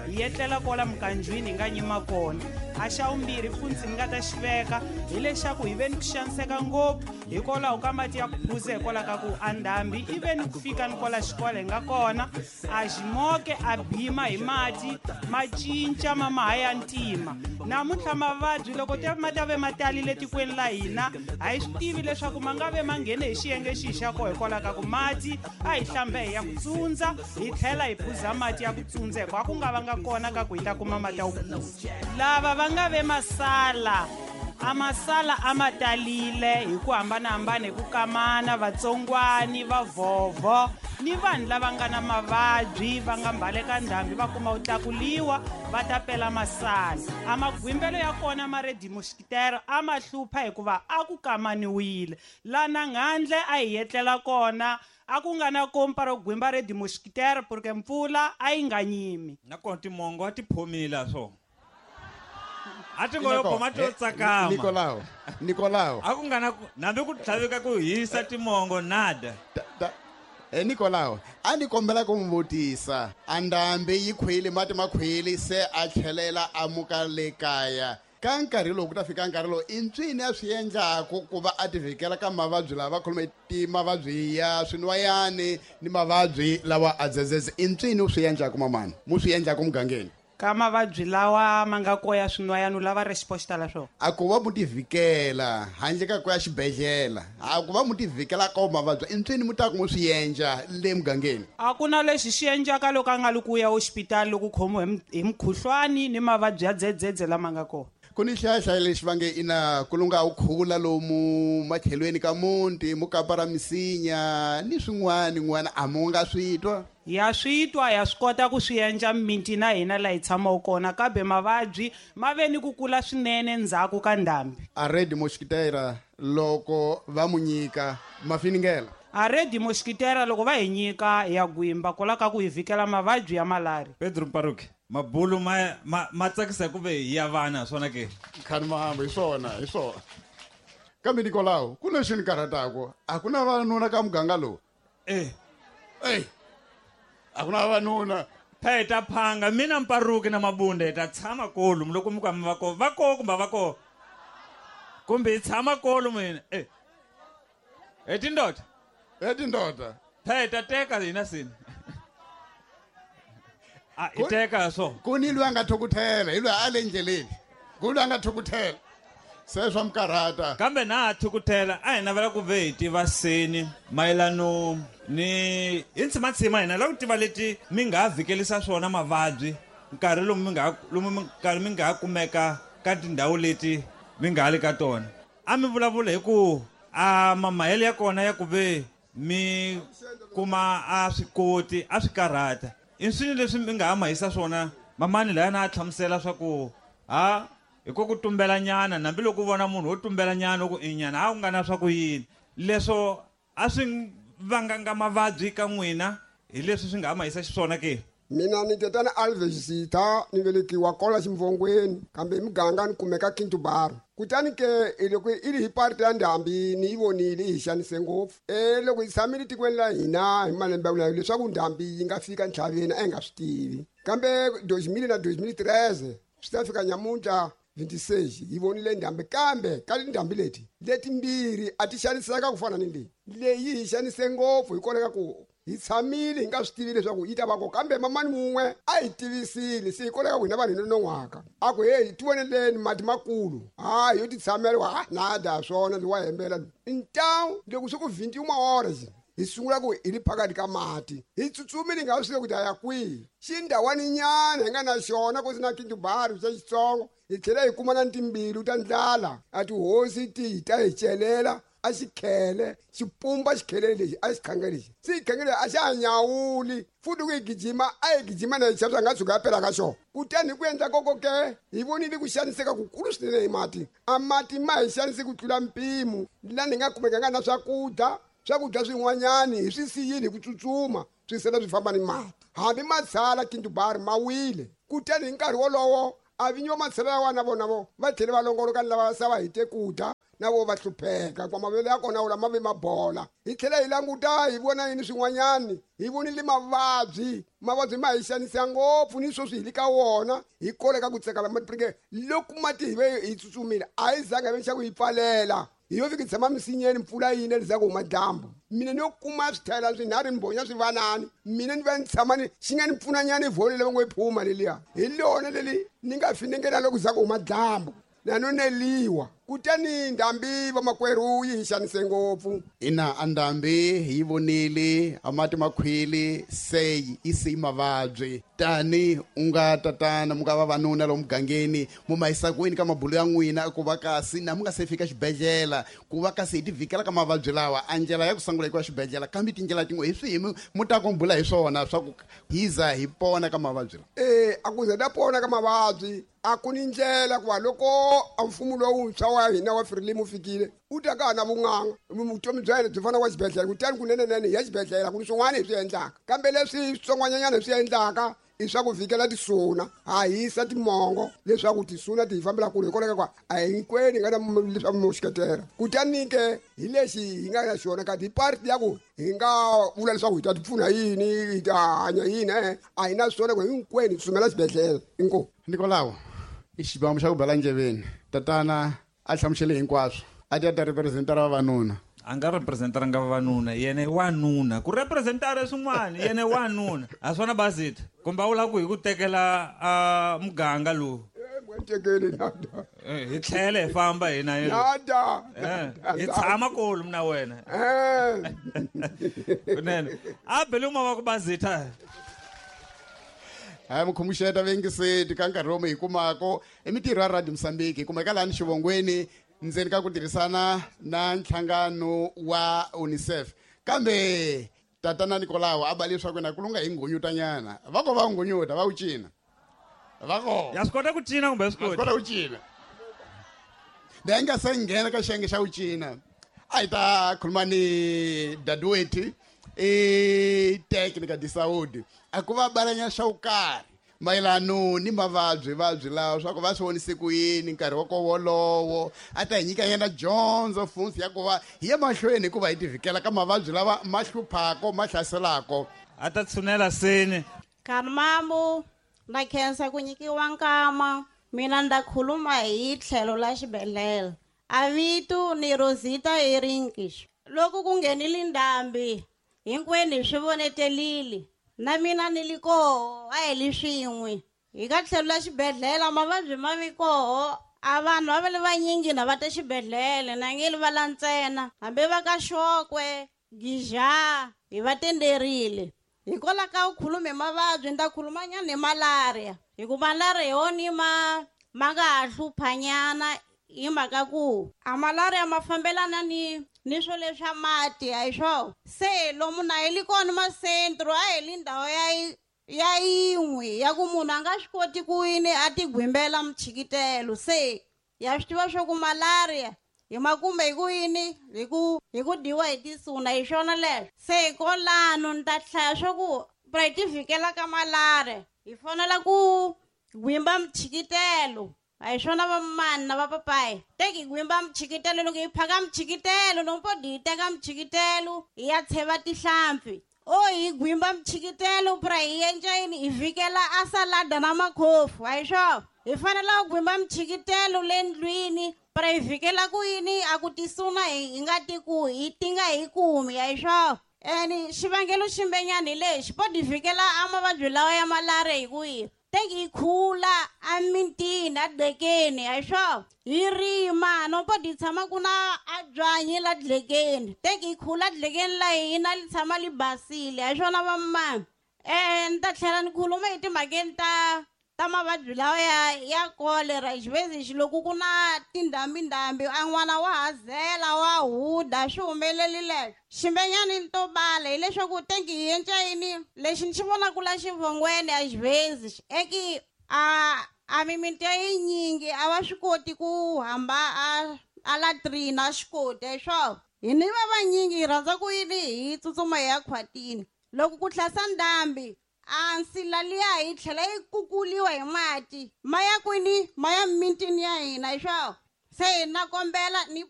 Hi etlela kwala mikanjwini hi nga nyima kona. A xa vumbirhi funtsi ni nga ta xi veka hileswaku hi ve ni ku xaniseka ngopfu hikwalaho ka mati ya ku phuza, hikwalaho ka ku a ndhambi i ve ni ku fika ni kwala xikolo hi nga kona, a ximoke a bima hi mati ma cinca ma maha ya ntima. Namuntlha mavabyi loko ma ta ve ma talile tikweni la hina, a hi swi tivi leswaku ma nga ve ma nghene hi xiyenge xihi xa koho, hikwalaho ka ku mati a hi hlambe hi ya ku tsundza, hi tlhela hi phuza mati ya ku tsundza, hikuva a ku nga vanga kona ka ku hi ta kuma mati ya ku phuza. Lava va nga ve masala, a masala a ma talile hi ku hambanahambana, hi ku kamana vatsongwani, vavhovho ni vanhu lava nga na mavabyi va nga mbaleka ndhambi va kuma ku tlakuliwa va ta pela masala. A magwimbelo ya kona ma red mosquitero a ma hlupha hikuva a ku kamaniwile. Lana nghandle a hi etlela kona a ku nga na kompa ro gwimba red mosquitero porque mpfula a yi nga nyimi. Nakona timongo a ti phomile swo. A ti ngo yo khoma to tsakama. Nikolao, Nikolao. A ku nga na nambi ku tlhaveka ku hisa timongo nada. Nikolao, a ni kombela ku n'wi vutisa, a ndhambi yi khwili mati ma khwili se a tlhelela a muka le kaya. Ka nkarhi lowu ku ta fika nkarhi lowu i ntswini a swi endlaku ku va a ti vhikela ka mavabyi lawa va khome ti mavabyi ya swinwayani ni mavabyi lawa a dzedzedze, i ntswini u swi endlaku mamani, mu swi endlaku mugangeni? Ka mavabyi lawa ma nga koya swinwayani u lava resposta la swona? A ku va mu ti vhikela handle ka ku ya xibedhlele, a ku va mu ti vhikela ka mavabyi, i ntswini mu ta ku mu swi endla le mugangeni? A ku na lexi xi endlaka loko a nga li ku ya hospitali loko u khomiwe hi mukhuhlwani ni mavabyi ya dzedzedze lama nga kona. Ku ni xihlayahlaya lexi va nge ina ku lunga wu khula lomu matlhelweni ka muti, mukapa ra misinya ni swin'wana n'wana, a mu nga swi twa? Ya swi twa, ya swi kota ku swi endla mimiti na hina laha hi tshamaka kona, kambe mavabyi ma ve ni ku kula swinene ndzhaku ka ndhambi. A red mosquitera loko va mu nyika mafiningela? A red mosquitera loko va hi nyika ya gwimba kwala ka ku hi vhikela mavabyi ya malaria. Pedro Mparuki, mabulu ma tsakisa ku ve hi ya vana swona ke? Khani mahamba hi swona, hi swona. Kambe Nikolao, ku lexi ni karhataka, a ku na vavanuna ka muganga lowu. A ku na vavanuna. Phe hi ta phanga mina Mparuki na Mabunda hi ta tshama kolomu loko mi ka mi va ko, va ko kumbe va ko. Kumbe hi tshama kolomu hina. Hi tindoda. Hi tindoda. Phe hi ta teka hina sini. A hi teka so. Ku ni loyi a nga thukuthela, hi loyi a le ndleleni. Ku loyi a nga thukuthela. Se swa mikarhata. Kambe na thukuthela a hi navela ku ve hi tiva seni mayelano ni hi ntshimatshima hina lava ku tiva leti mi nga vhikelisa swona mavabyi nkarhi lomu mi nga lomu mi nkarhi mi nga kumeka ka tindhawu leti mi nga le ka tona. A mi vulavula hi ku a mamahelo ya kona ya ku ve mi kuma a swi koti a swi karhata. I swini leswi mi nga ha mahisa swona mamani laya na a hlamusela swa ku ha hi ku tumbela nyana, nambi loko u vona munhu wo tumbela nyana u ku i nyana a ku nga na swa ku yini. Leswo a swi vanganga mavabyi ka n'wina hi leswi swi nga ha mahisa xiswona ke? Mina ni tatana Alves Sitha, ni velekiwa kwala Ximvongweni, kambe hi muganga ni kumeka Kintubar. Kutani ke loko i ri hi parte ya ndhambi ni yi vonile yi hi xanise ngopfu. Loko hi tshamile tikweni la hina hi malembe ya leswaku ndhambi yi nga fika ntlhaveni a hi nga swi tivi. Kambe dois mille na dois mille treize swi ta fika nyamuntlha 26 hi vonile ndhambi, kambe ka tindhambi leti letimbirhi a ti xaniseka ku fana ni leyi. Leyi hi xanise ngopfu hikwalaho ka ku hi tshamile hi nga swi tivi leswaku yi ta va kona, kambe mamani mun'we a hi tivisile, se hikwalaho ka ku hina vanhu hi nonon'hwaka. A ku heyi tivoneleni mati makulu, ha yo ti tshamela, ha nada swona ndzi wa hembela lowu. Ntawu loko swi ku vinti yin'we hi sungula ku hi ri phakathi ka mati, hi tsutsumile hi nga swi tivi ku ta ya kwihi. Xindhawani nyana hi nga na xona ku si na Kintubar xa xitsongo, hi tlhela hi kuma na timbilu ta ndlala, a tihosi ti hi ta hi celela a xikhele, xipumba xikhele lexi a xikhangele lexi. Se xikhangele a xa ha nyawuli, futhi ku hi gijima a hi gijima na hi xavisa nga tshuka ya pela ka xona. Kutani hi ku endla koko ke hi vonile ku xaniseka kukulu swinene hi mati. A mati ma hi xanise ku tlula mpimo, laha ni nga kumekanga na swakudya, swakudya swin'wanyani hi swi siyile hi ku tsutsuma, swi sala swi famba ni mati. Hambi ma tshala Kintubar ma wile. Kutani hi nkarhi wolowo A vinyi va matsheve ya wana vona vo va tlhele va longoloka ni lava sava hi te ku dya na vo va hlupheka kwa mavele ya kona wula ma ve mabola. Hi tlhela hi languta hi vona yini swin'wanyani, hi vonile mavabyi, mavabyi ma hi xanisa ngopfu ni sweswi hi le ka wona, hi koleka ku tsekala mati loko mati hi ve hi tsutsumile a hi zanga hi ve xa ku hi pfalela. Hi yo fika hi tshama misinyeni mpfula yi na leswaku huma dyambu. Mina ni yo kuma swithayela swinharhu ni bonya swivanani, mina ni va ni tshama ni xi nga ni pfunanyana i vhole leyi va ngo yi phuma leliya, hi lona leli ni nga finengela loko za ku huma dyambu na no neliwa. Kutani ndhambi vamakwerhu yi hi xanise ngopfu. Ina, a ndhambi hi yi vonile, a mati makhwili se yi siyi mavabyi. Tani u nga tatana mu nga vavanuna lomu mugangeni, mu ma yisa kwini ka mabulu ya n'wina ku va kasi na mu nga se fika xibedhlele, ku va kasi hi ti vhikela ka mavabyi lawa? A ndlela ya ku sungula yi ku ya xibedhlele, kambe tindlela tin'we hi swihi mu ta ku bula hi swona swa ku hi za hi pona ka mavabyi lawa? A ku za ta pona ka mavabyi a ku ni ndlela ku va loko a mfumo lowuntshwa wa hina wa Frelimo wu fikile u ta ka ha na vun'anga, vutomi bya yena byi fana wa xibedhlele. Kutani kunenenene hi ya xibedhlele ku ni swin'wana hi swi endlaka, kambe leswi switsongwanyanyana hi swi endlaka i swa ku vhikela tisuna, ha hisa timongo leswaku tisuna ti hi fambela kule, hikwalaho ka ku a hinkwenu hi nga na leswa muxiketela. Kutani ke hi lexi hi nga na xona kasi hi parti ya ku hi nga vula leswaku hi ta ti pfuna yini, hi ta hanya yini, a hi na swona ku hinkwenu hi tsutsumela xibedhlele. Inkomu. Nikolao, i xibamu xa ku bela ndleveni. Tatana a hlamusele hinkwaswo, a ti a ta representara vavanuna. A nga representaranga vavanuna, yena i wanuna. Ku representara swin'wana, yena i wanuna. A swona Bazita, kumbe a vula ku hi ku tekela a muganga lowu. Tekeli nada. Hi tlhele hi famba hina hi. Nada. Hi tshama kulu mina wena. Kunene. A bele uma wa ku Bazita. Hayi mukhomuxeta vengiseti ka nkarhi lomu hi kumako i mitirho ya Radio Mozambique, hi kumeka lani xivongweni ndzeni ka ku tirhisana na nhlangano wa UNICEF. Kambe tatana Nikolao a ba leswaku na ku lunga hi nghunyutanyana, va ko va nghunyuta va wu cina, va ko ya swi kota ku cina kumbe swi kota kota ku cina. Leyi nga se nghena ka xiyenge xa ku cina, a hi ta khuluma ni Dadweti i Técnica de Saúde, a ku va balanya xa ku karhi mayelano ni mavabyi vabyi lawa swa ku va swi vonise ku yini nkarhi wa ko wolowo, a ta hi nyika yena dyondzo futhi ya ku va hi ya mahlweni hikuva hi tivhikela ka mavabyi lawa ma hluphako ma hlaselako. A ta tshunela seni. Karmambu na khensa ku nyikiwa nkama, mina nda khuluma hi tlhelo la xibedhlele. A vito ni Rosita Erinkish. Loko ku nghenile ndhambi hinkwenu hi swi vonetelile, na mina ni li koho, a hi li swin'we. Hi ka tlhelo la xibedhlele mavabyi ma vi koho, a vanhu va va le vanyingi na va ta xibedhlele, na nge li va la ntsena, hambi va ka Xokwe, Gija, hi va tenderile. Hikwalaho ka ku khuluma hi mavabyi, ni ta khuluma nyana hi malaria, hikuva malaria hi wona ma nga ha hluphanyana hi mhaka ku a malaria ma fambelana ni swo leswa mati, a hi swona? Se lomu na hi li kona masentro, a hi li ndhawu ya yin'we ya ku munhu a nga swi koti ku yini a ti gwimbela mchikitelo. Se ya swi tiva swa ku malaria hi makume hi ku yini, hi ku dyiwa hi tisuna, hi swona leswo. Se kolano ni ta hlaya swa ku pra hi ti vhikela ka malaria hi fanele ku gwimba mchikitelo. A hi swona vamani na vapapayi, teki hi gwimba mchikitelo. Loko hi phaka mchikitelo, loko po hi teka mchikitelo hi ya tsheva tihlampfi, o hi gwimba mchikitelo pra hi endla yini, hi vhikela a salada na makhofu, a hi swona? Hi fanele ku gwimba mchikitelo le ndlwini pra hi vhikela ku yini, a ku tisuna hi nga ti ku hi ti nga hi kumi, a hi swona? Ene xivangelo ximbenyana hi lexi, po hi vhikela a mavabyi lawa ya malaria hi ku yini, teki hi khula a mintini a dlekeni, a hi swona? Hi rima no po hi tshama ku na a byanyi la dlekeni, teki hi khula dlekeni la hina li tshama li basile, a hi swona vamani? Ni ta tlhela ni khuluma hi timhakeni ta mavabyi lawa ya cholera. Xivezi loko ku na tindhambindhambi, a n'wana wa hazela wa huda, swi humeleli leswo. Ximbenyani ni to bala hileswaku tenki hi endla yini, lexi ni xi vonaka la xivongweni a xivezi eki a mimiti ya yinyingi a va swi koti ku hamba a latrina, a swi koti, a hi swona? Hi ni va vanyingi hi rhandza ku yini, hi tsutsuma hi ya khwatini. Loko ku hlasa ndhambi A nsila liya yi tlhela yi kukuliwa hi mati ma ya kwini, ma ya mintini ya hina hi swawo. Se na kombela ni